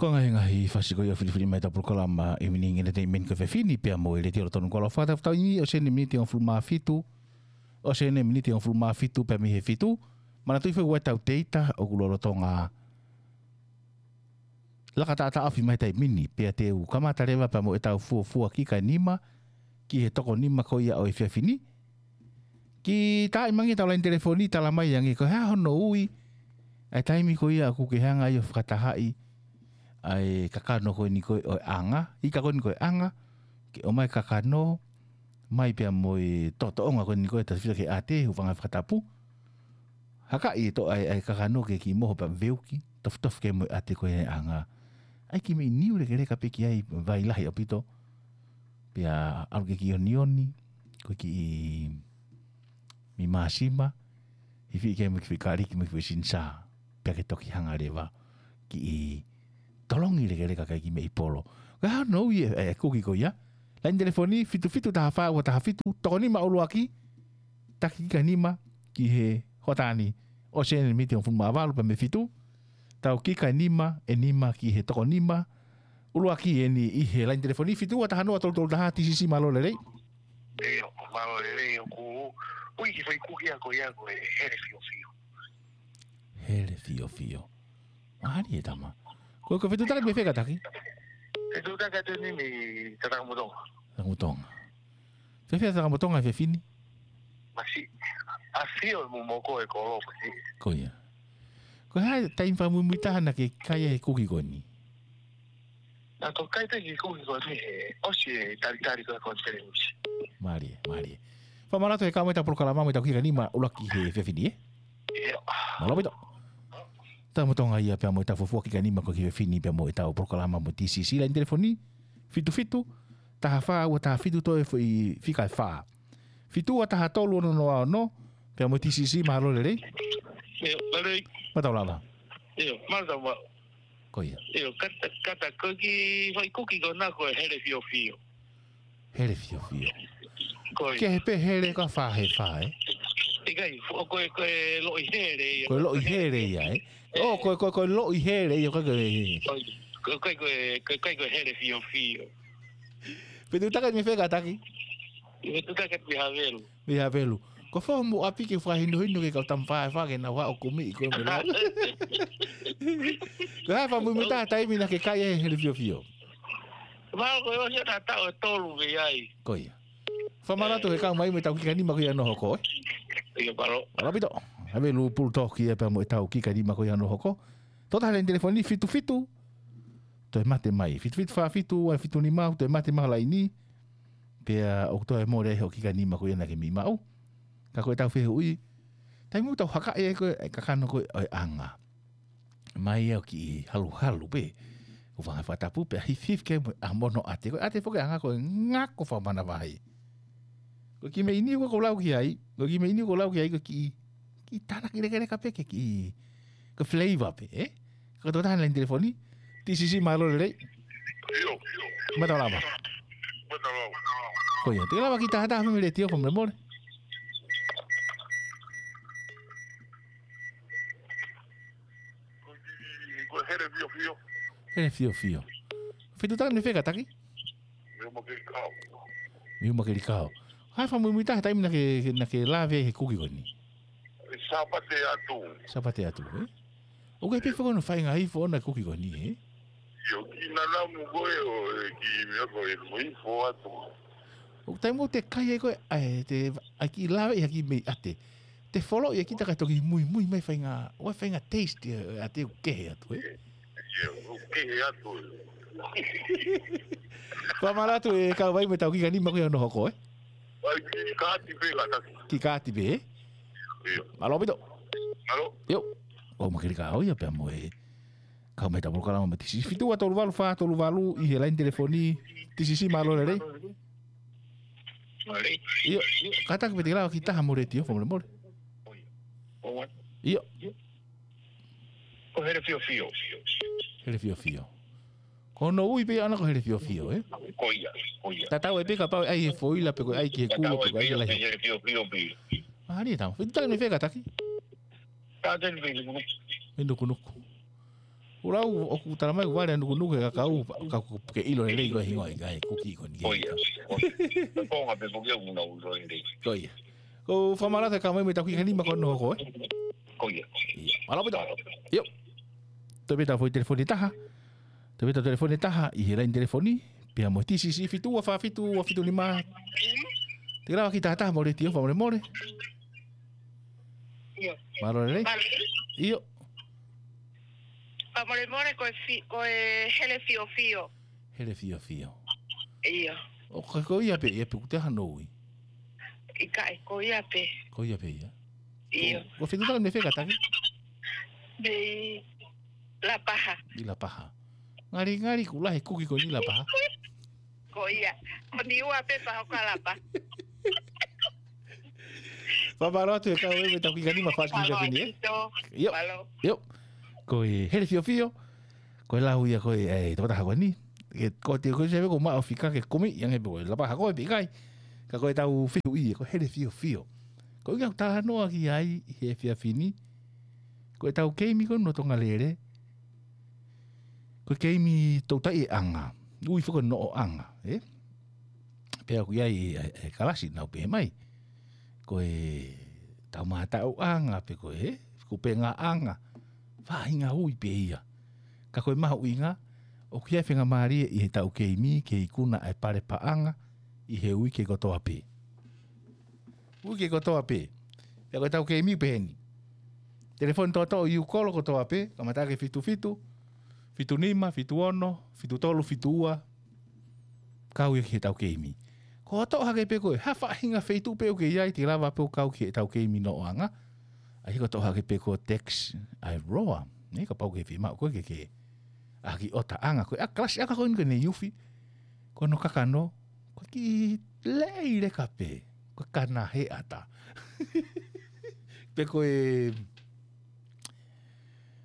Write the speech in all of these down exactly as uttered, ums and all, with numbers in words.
Ko e ngaahi, ngaahi fasi ko ia ʻoku filifilimui mai ʻetau polokalama Evening Entertainment ko e efiafi ni pea mo e Letiō Lotonu Koloa. Fakatapu atu ʻi he miniti ʻe hongofulu mā fitu, ʻi he miniti ʻe hongofulu mā fitu pea mei he fitu. Manatuʻi foki ʻoku ʻi ai ʻetau teita ʻoku lolotonga laka taʻataʻofi mai he taimi ni, pea te u kamata leva pea mo ʻetau fuofua kika ʻe nima ki he toko nima ko ia ʻo e efiafi ni. Kiʻi taaʻi mai ange ʻetau laine telefoni, tala mai ange ko e hā hono ui ʻa e taimi ko ia ʻoku ke hanga ai ʻo fakatahaʻi ʻa e kakano ko eni ko ē ʻo e anga, ika ko eni ko e anga, ke ʻomai e kakano mai pea mo e toʻotoʻonga ko eni ko ē ʻo e tafitaha ki he ʻate, hūfanga he fakatapu. Hakaʻi e toʻo ʻa e, ʻa e kakano ke kiʻi moho pea veuki, tofitofi ki ai mo e ʻate ko ē ʻa e anga. ʻAi kiʻi meʻi niu lekeleka pē ki ai, vai lahi ʻaupito. Pea ʻalu ke kiʻi onioni, ko e kiʻi mei māsima, hifiʻi ki ai mo e kiʻi foʻi kāliki mo e kiʻi foʻi sinisā. Pea ke toki hanga leva kiʻi tolongi lekeleka ki ai kiʻi meʻi polo. Ko e hā hono ui ʻa e, ʻa e kuki ko ia? Laine telefoni, fitu fitu taha fā ua taha fitu, toko nima ʻuluaki, taki kika ʻe nima ki he hoʻatā ni, ʻosi eni miniti ʻe hongofulu mā valu pea mei he fitu, tau kika ʻe nima, ʻe nima ki he toko nima ʻuluaki eni ʻi he laine telefoni, fitu ua taha noa tolu tolu taha, T C C, mālō e lelei. ʻIo, mālō e lelei, ʻoku ui ki he foʻi kuki ia ko ia ko e hele fiofio. Hele fiofio. Mālie tama. Ko, ko e fetuʻutaki mei fē kātaki? Fetuʻutaki atu eni mei Tatamutonga. Tatamutonga. Fēfē Tatamutonga he efiafi ni? Masiʻi. ʻAfio e mumoko e kolo ko ē. Ko ia. Ko e hā e taimi fakamuimui taha naʻa ke kai ai e kuki ko eni? Naʻa ku kai pē e kuki ko eni he ʻosi e talitali ko ē konifelenisi. Mālie, mālie. Fakamālō atu he kau mai ʻetau polokalama mo ʻetau kika ʻe nima ʻuluaki he efiafi ni, ē? ʻIo. Mālō ʻaupito. Tatamutonga ia pea mo ʻetau fuofua kika ʻe nima ko ē he efiafi ni pea mo ʻetau polokalama mo e T C C, laine telefoni, fitu fitu taha fā ua taha fitu, toe foʻi fika ʻe fā. Fitu ua taha tolu ono noa ono, pea mo e T C C, mālō e lelei. ʻIo, mālō e lelei. Mālō taulava. ʻIo, mālō taulava. Ko ia. ʻIo, kātaki, kātaki, ko e kiʻi foʻi kuki ko ena ko e hele fiofio. Hele fiofio. Ko ia. Kehe pē hele ka fā he fā, ē? ʻIkai, fo-, ko e, ko e loʻi hele ia. Ko e loʻi hele ia, ē? ʻĒ. ʻŌ, ko e, ko e, ko e loʻi hele ia, ko e, ko e. Ko e, ko e, ko e, ko e, ko e hele fiofio. Fetuʻutaki mei fē kātaki? Fetuʻutaki mei Havelu. Mei Havelu. Ko e fē hoʻomo ʻapi ke fakahinohino ki he kau tama faifai ke nau haʻu ʻo kumi ʻi ko e mela. Ko e hā e fakamuimui taha taimi naʻa ke kai ai e hele fiofio? Mālō, ko e ʻosi ʻa e taʻu ʻe tolu mei ai. Ko ia. Fakamālō atu he kau mai mo ʻetau kika ʻe nima ko ia hono hoko, ē? ʻIo, mālō. Mālō ʻaupito. Havelu Pulutōki ia pea mo ʻetau kika ʻe nima ko ia hono hoko. Toʻo taha e laine telefoni, fitu fitu. Toe mate mai. Fitu fitu fā fitu ua fitu nima, toe mate mai e laine. Pea ʻoku toe mole ai hoʻo kika ʻe nima ko ia naʻa ke meimei maʻu. Ka ko ʻetau fehuʻi, taimi ʻoku tau hakaʻi ai ko ē e kakano ko ē ʻo e anga, mai ʻo kiʻi haluhalu pē, hūfanga he fakatapu pea hifihifi ki ai mo e ʻamono ʻate. Ko e ʻate foki e anga ko e ngako fakamanavahē. Ko e kiʻi meʻi niu ko ē ʻoku ou lau ki ai, ko e kiʻi meʻi niu ʻoku ou lau ki ai, ko e kiʻi, kiʻi tānaki lekeleka pē ke kiʻi, ko e flavor pē, ē? Ka ko e toʻo taha e laine telefoni, T C C, mālō e lelei. ʻIo. Mālō taulava. Mālō taulava. Ko ia, te ke lava kiʻi tahataha mei he letiō fakamolemole. Ko e hele fiofio. Hele fiofio. Fetuʻutaki mei fē kātaki? Mei Umakelikao. Mei Umakelikao. Hā e fakamuimui taha taimi naʻa ke, naʻa ke lave ai he kuki ko eni? Sāpate atu. Sāpate atu, ē? ʻOku ʻi ai pē foki hono faʻahinga ifo ʻona e kuki ko eni, ē? ʻIo, kiʻi nanamu ko ē ʻo e kiʻi meʻa ko ē mo ifo atu. ʻOku taimi ʻoku te kai ai ko ē, ʻa e, te, ʻai kiʻi lave ʻi ha kiʻi meʻi ʻate. Te foloʻi ʻe kita kae toki muimui mai faʻahinga, ʻoua, faʻahinga taste ʻa e ʻate ʻoku kehe atu, ē? ʻIo, ʻoku kehe atu. Fakamālō atu he kau mai mo ʻetau kika ʻe nima ko ia hono hoko, ē? ʻAi, kiʻi kaati pē kātaki. Kiʻi kaati pē, ē? ʻIo. Mālō ʻaupito. Mālō. ʻIo. ʻO Umakelikao ia pea mo e kau mai ʻetau polokalama mo e T C C, fitu ua tolu valu fā tolu valu ʻi he laine telefoni, T C C, mālō e lelei. Mālō. ʻIo, kātaki pē te ke lava kiʻi taha mo e letiō fakamolemole. ʻIo. Ko e hele fiofio. Hele fiofio. Ko hono ui pē ʻana ko e hele fiofio, ē? Ko ia, ko ia. Tatau ai pē kapau ʻe ʻai he foila pe ko e ʻai ki he kulo pe ko e ʻai lahi. Tatau ai pē hele fiofio pē. Mālie tama. Fetuʻutaki mei fē kātaki? Kātaki mei Nukunuku. Mei Nukunuku. Ula u, ʻoku tala mai, vale nukunuku e kakau, ka ke ʻilo lelei ko e hingoa ʻikai, kuki ko eni. Ko ia. Ko e konga pē ko ia ʻoku nau ʻilo lelei. Ko ia. Ko e fakamālō atu e kau mai mei he tau ki he nima ko hono hoko, ē? Ko ia. Ia. Mālō ʻaupito. ʻIo. Toe pē ʻetau foʻi telefoni ʻe taha. Toe pē ʻetau telefoni ʻe taha, ʻi he laine telefoni, pea mo e T C C fitu ua fā fitu ua fitu nima. Te ke lava ke kiʻi taha taha mo e letiō, fakamolemole. ʻIo. Mālō lelei. Mālō. ʻIo. Fakamolemole, ko e fi-, ko e Hele Fiofio. Hele Fiofio. ʻIo. ʻO ka ko ia pē, ia pē kuo te hano ui. ʻIkai, ko ia pē. Ko ia pē ia. ʻIo. Ko, ko fē ʻoku tau mei fē kātaki? Mei Lapaha. ʻI Lapaha. Ngali, ngali kuo lahi e kuki ko eni ʻi Lapaha. Ko ia. Ko Niua pē pea hoko ʻa Lapaha. Fakamālō atu e kau mai mei he tau ki he nima, fakamolemole, ē? Mālō ʻaupito. ʻIo. Mālō. ʻIo. Ko e Hele Fiofio, ko e lau ia ko ē, ʻe, tokotaha ko eni. Ke, ko te ko se ko maʻu fika ke kumi, ʻi ange pē ko e Lapaha ko ē pe ʻikai. Ka ko ʻetau fehuʻi, ko e Hele Fiofio. Ko e ʻuhinga ʻoku talanoa ki ai ʻi he efiafi ni, ko ʻetau keimi ko eni ʻo Tonga Lele, ko e keimi toutai e anga, ui foki ko e noʻoʻanga, ē? Pea ʻoku ʻi ai e, e, e kalasi naʻa nau pehē mai, ko e taumātaʻuʻanga pe ko e kupengaʻanga, faʻahinga ui pē ia. Ka ko e mahuʻinga, ʻoku ʻi ai e faingamālie ʻi he tau keimi ke ikuna e pale paʻanga ʻi he uike kotoa pē. Uike kotoa pē. Pea ko e tau keimi pē eni. Telefoni toʻotoʻo ʻi ʻIukolo kotoa pē, kamata ʻaki e fitu fitu, fitu nima, fitu ono, fitu tolu, fitu ua, kau ia ki he tau keimi. Ko e toʻo hake pē ko e hā faʻahinga feituʻu pē ʻoku ke ʻi ai, te ke lava pē ʻo kau ki he tau keimi noʻoʻanga. ʻA ia ko e toʻo hake pē ko e text ʻa e Roa. Nē, kapau ʻoku ke fiemaʻu koe ke ke ʻaki ʻo taʻanga ko e ʻa kalasi ʻa ka ko eni ko eni ufi. Ko hono kakano, ko e kiʻi lei leka pē, ko e kana he ata. Pe ko e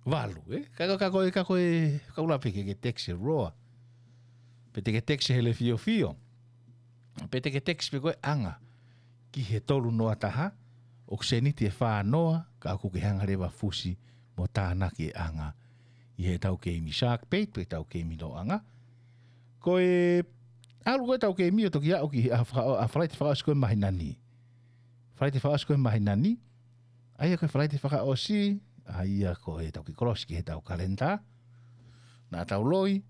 valu, ē? Ka, ka, ka ko e, ka ko e, ka ula pē ke, ke text e Roa. Pe te ke text e Hele Fiofio. Pe te ke text pē ko e anga ki he tolu noa taha, ʻoku seniti ʻe fā noa, ka ʻoku ke hanga leva fusi mo tānaki e anga ʻi he tau keimi Shark Bait, pe tau keimi noʻoʻanga. Ko e ʻalu ko e tau keimi ʻo toki aʻu ki he ʻaho faka-, ʻaho Falaite fakaʻosi ko ē māhina ni. Falaite fakaʻosi ko ē māhina ni, ʻa ia ko e Falaite fakaʻosi, ʻa ia ko e tau kiʻi kolosi ki he tau kalenda. Naʻa tau loi,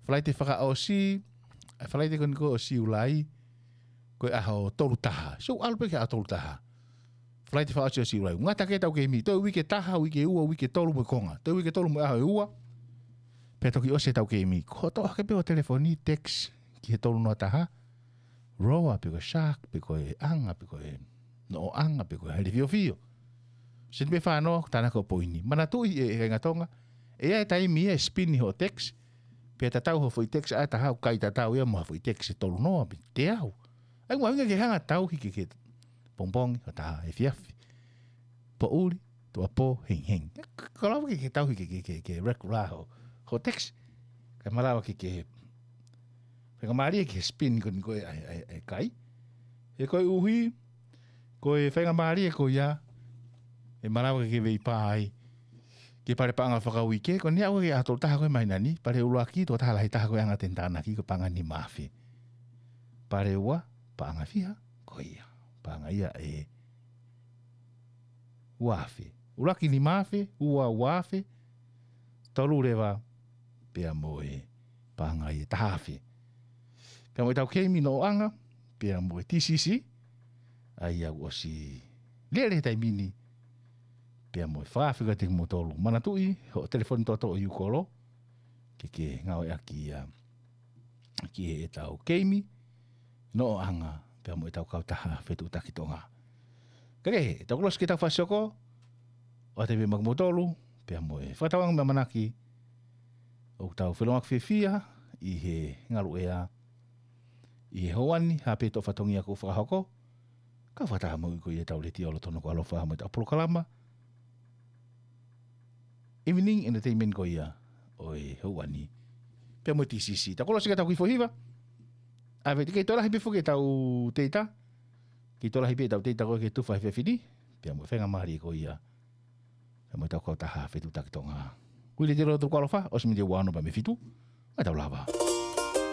Falaite fakaʻosi, ʻa e Falaite ko eni ko ē ʻo Siulai, ko e ʻaho tolu taha. So, ʻalu pē ki he ʻaho tolu taha. Falaite fakaʻosi ʻo Siulai. Ngata ke tau keimi, toe uike taha, uike ua, uike tolu mo e konga. Toe uike tolu mo e ʻaho ʻe ua. Pea toki ʻosi e tau keimi. Ko e toʻo hake pē ʻo telefoni, text, ki he tolu noa taha. Roa, pe ko e Shark, pe ko e anga, pe ko e noʻoʻanga, pe ko e Hele Fiofio. Seniti pē fā noa, tānaki hoʻo poini. Manatuʻi e, e kāinga Tonga, ʻe ʻi ai e taimi ia ʻe spin hoʻo text, pea tatau hoʻo foʻi text ʻe taha, ʻoku ʻikai tatau ia mo ha foʻi text ʻe tolu noa, pe teau. ʻA ia ʻoku mahuʻinga ke hanga ʻo tauhi ke, ke pongipongi, hoʻatā, efiafi, poʻuli, tuʻuapō, hengihengi. Ka, ka lava ke, ke tauhi ke, ke, ke, ke regular hoʻo, hoʻo text. Kae malava ke, ke faingamālie ki he spin ko eni ko ē ʻa e, ʻa e, ʻa e kai. He koeʻuhi, ko e faingamālie ko ia, ʻe malava ke ke veipā ai ki he pale paʻanga fakauike, ko eni aʻu ki he ʻaho tolu taha ko ē māhina ni, pale ʻuluaki, toko taha lahi taha ko e anga te ne tānaki, ko e paʻanga nima afe. Pale ua, paʻanga fiha, ko ia. Paʻanga ia ʻe ua afe. ʻUluaki nima afe, ua ua afe, tolu leva, pea mo e paʻanga ia ʻe taha afe. Pea mo e tau keimi noʻoʻanga, pea mo e T C C, ʻa ia ʻoku ʻosi lele he taimi ni, pea mo e fakaafeʻi atu kimoutolu. Manatuʻi, hoʻo telefoni toʻotoʻo ʻi ʻIukolo, ke ke ngāueʻaki ia ki he ʻetau keimi noʻoʻanga, pea mo ʻetau kautaha Fetuʻutaki Tonga. Ka kehe, ʻetau kolosi ki he tau fasi hoko, ʻoatu pē maʻa kimoutolu, pea mo e fakatauange mo e ʻamanaki, ʻoku tau felōngoaki fiefia ʻi he ngaluʻea ʻi he houa ni, ha pē toʻo fatongia kuo fakahoko, ka fakataha mo ʻetau letiō lolotonga ko ē ʻoku ʻaloʻofa mo ʻetau polokalama Evening Entertainment ko ia ʻo e houa ni. Pea mo e T C C. Tau kolosi ka tau kiʻi foʻi hiva. ʻAve te kei toe lahi pē foki ʻetau teita. Kei toe lahi pē ʻetau teita ko ē ke tufa he efiafi ni. Pea mo e faingamālie ko ia. Pea mo ʻetau kautaha Fetuʻutaki Tonga. Ko e letiō Tuʻa Loto Kalofa, ʻosi miniti ua ono pea mei he fitu. Ka tau lava.